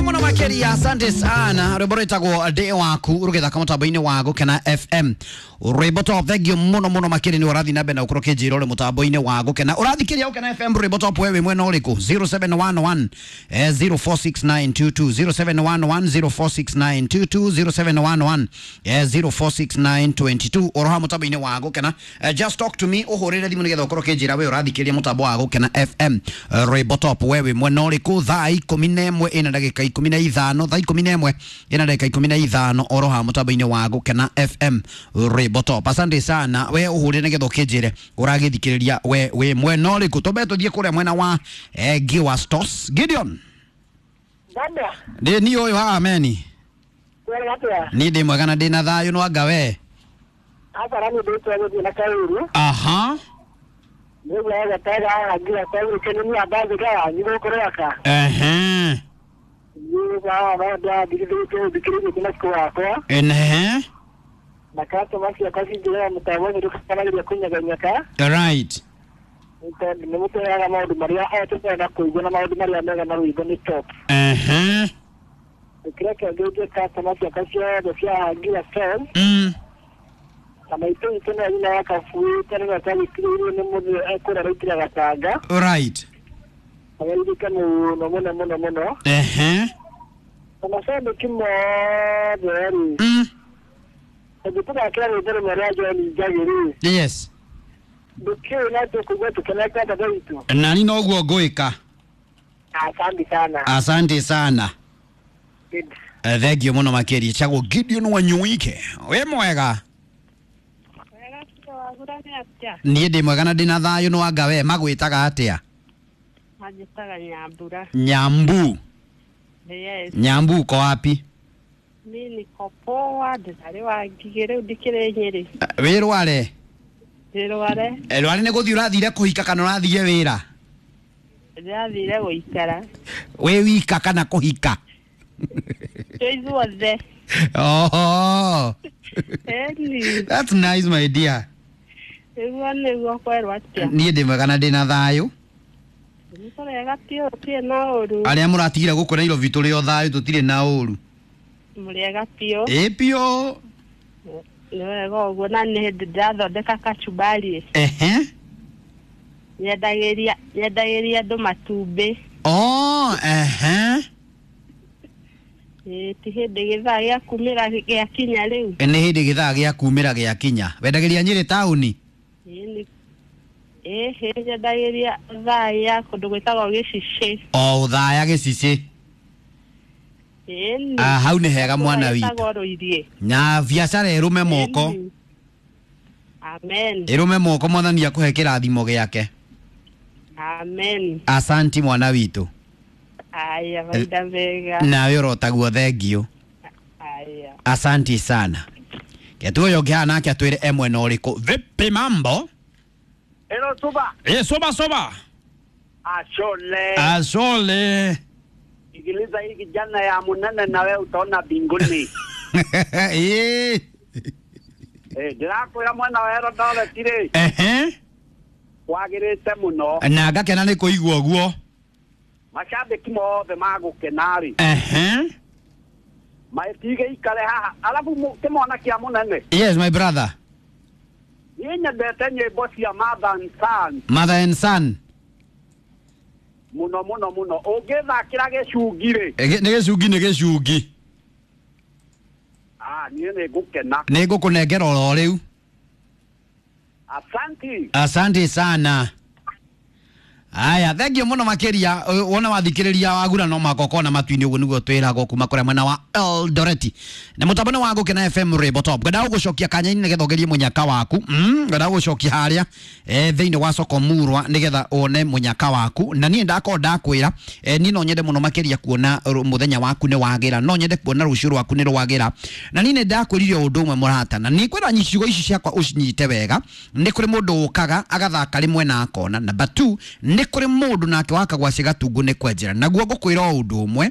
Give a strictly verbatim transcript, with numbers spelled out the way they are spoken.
Thank you muno makiria, asante sana. Rwimbo rwitagwo Ndĩ Waku rũgĩthaka mũtambo-inĩ wa Gũkena F M. Rwimbo top, thank you muno muno makiria nĩ ũrathiĩ na mbere na ũkorwo ũkĩnjĩra ũrĩ mũtambo-inĩ wa Gũkena. Ũrathikĩria Gũkena F M rwimbo top, wewe wĩ mwena ũrĩkũ? zero seven one one zero four six nine two two, zero seven one one zero four six nine two two, zero seven one one zero four six nine two two. Oroha mũtambo-inĩ wa Gũkena. Just talk to me, ũhũrĩre thimũ nĩgetha ũkorwo ũkĩnjĩra we ũrathikĩria mũtambo wa Gũkena F M. Rwimbo top, wewe wĩ mwena ũrĩkũ? Thaa ikũmi na ĩmwe ĩna ndagĩka ikũmi na ithano, thaa ikũmi na ĩmwe ĩna ndagĩka ikũmi na ithano oroha mũtambo-inĩ wa Gũkena F M rwimbo top. Asante sana we ũhũrĩre nĩgetha ũkĩnjĩre ũragĩthikĩrĩria we wĩ mwena ũrĩkũ. Twambe tũthiĩ kũrĩa mwena wa eh, Giwa Stores. Gideon. Dada. Ndĩ niĩ ũyũ haha meni. Kwega atĩa? Niĩ ndĩ mwega na ndĩ na thayũ no anga we. Aca nĩ ndĩtwa gũthiĩ na kaũru. Aha. Nĩguo gataga haha nginya kaũru kene nĩ ambathĩka wanyu gũkũ Rwaka. Ehe. Nĩguo haha ndathikĩrĩtie thikĩrĩtie na cikũ wakwa. Ehe. Na customer ciakwa cinjĩraga mũtambo ũcio ndũkanagĩria kũnyeganyega. Right. Tondũ nĩ mũtũheaga maũndũ marĩa o tũkwenda kũigua na maũndũ marĩa mega na rwĩmbo nĩ top. Ehe. Kĩrĩa kĩangĩtie customer ciakwa ciothe cia Hangira Stores. Mm. Na maitũ witũ nĩwe nyina wa Kabui, tene na twagĩtigĩirwo nĩ mũthĩ ekũrĩa raitĩra gatanga. Right. Ageririke mũno mũno mũno mũno. Ehe. Na macambĩki mothe rĩ. Mm. Tondũ tũthakĩra rwĩmbo rũmwe rwa John Njagi rĩ. Yes. Ndũkĩũĩ na tũkũigua tũkenete dada witũ. Nani noguo ngwĩka. Asante sana. Asante sana. Good. Uh, thank you muno makiria. Chagwo Gideon Wanyuike. Wĩ mwega? Niĩ ndĩ mwega na ndĩ na thayũ no anga we magwĩtaga atĩa? Manjĩtaga Nyambura. Nyambu. Yes. Nyambu uko wapi? Mi niko poa, ndĩrarĩ wa Ngigĩ rĩu ndikĩrĩ Nyĩrĩ. Wĩ Rware? Ndĩ Rware. Rware nĩ gũthiĩ ũrathire kũhika kana ũrathire wĩra? Ndĩrathire gũikara. Wĩ wika kana kũhika? Twĩ ithuothe. Oh. Ĩni. That's nice my dear. Nĩguo nĩguo kwerwo atĩa? Niĩ ndĩ mwega na ndĩ na thayũ. Nĩ tũrega biũ, tũtirĩ na ũru. Arĩa mũratigire gũkũ Nairobi tũrĩ o thayũ, tũtirĩ na ũru. Mũrĩega biũ. Ĩ biũ. Nĩ wega ũguo na nĩ hĩndĩ ndĩrathondeka kachumbari. Ehe. Nyendagĩria, nyendagĩria andũ matumbĩ. Oh, ehe. Ĩ ti hĩndĩ gĩthaa gĩa kumĩra gĩakinya rĩu. Nĩ hĩndĩ gĩthaa gĩa kumĩra gĩakinya. Wendagĩria Nyĩrĩ taũni? Ĩ ĩ nyendagĩria Othaya kũndũ gwĩtagwo Gĩcicĩ. O Othaya Gĩcicĩ. Ĩni. Ah, hau nĩ hega mwana witũ. Gwĩtagwo Rũiriĩ. Na biacara ĩrũme moko. Amen. Ĩrũme moko mwathani akũhe kĩrathimo gĩake. Amen. Asanti mwana witũ. Aya, mahinda mega. Nawe ũrotaguo thengio. Aya. Asanti sana. Ketu ũyũ ũngĩ haha nake atwĩre e mwena ũrĩkũ. Vipi mambo? Hello, Suba. Eh, soba soba. Ashole. Ashole. Sikiliza hii kijana ya munene na wewe utaona mbinguni. Eh. Eh, ndĩrakwĩra mwena wa Eldoret rĩ. Ehe. Kwagĩrĩte mũno. Na ngakena nĩ kũigua ũguo. Macambĩki mothe magũkena rĩ. Ehe. Matige ikare haha. Alafu kĩmwana kĩa mũnene. Yes my brother. Niĩ nyendete nyĩmbo cia Mother and Son. Mother and Son. Mũno mũno mũno. Ũngĩthakĩra gĩcungi rĩ. Nĩ gĩcungi nĩ gĩcungi. Ah, niĩ nĩ ngũkena. Nĩ ngũkũnengera oro rĩu. Asante. Asante sana. Aya, thank you muno makiria. Wona wathikiriria wagura no maka na matu-inĩ ũguo nĩguo twĩragwo kuma kũrĩa mwena wa Eldoret. Na mũtambo nĩ wa Gũkena F M Rwimbo Top. Ngwenda gũgũcokia kanya-inĩ nĩgetha ũgerie mũnyaka waku. Mm, ngwenda gũgũcokia harĩa eh, thĩinĩ wa soko Murwa nĩgetha wone mũnyaka waku. Na niĩ ndakorwo ndakwĩra eh, niĩ no nyende mũno makĩria kuona mũthenya waku nĩ wagĩra. No nyende kuona rũciũ rwaku nĩ rwagĩra. Na niĩ nĩ ndakwĩrire ũndũ ũmwe mũrata. Na nĩ ngwenda ciugo ici ciakwa ũcinyite wega. Nĩ kũrĩ mũndũ ũkaga agathaka rĩmwe na akona. Number two, nĩ kũrĩ mũndũ nake wakagwa cigatungu nĩ kwenjera. Naguo ngũkwĩra o ũndũ ũmwe.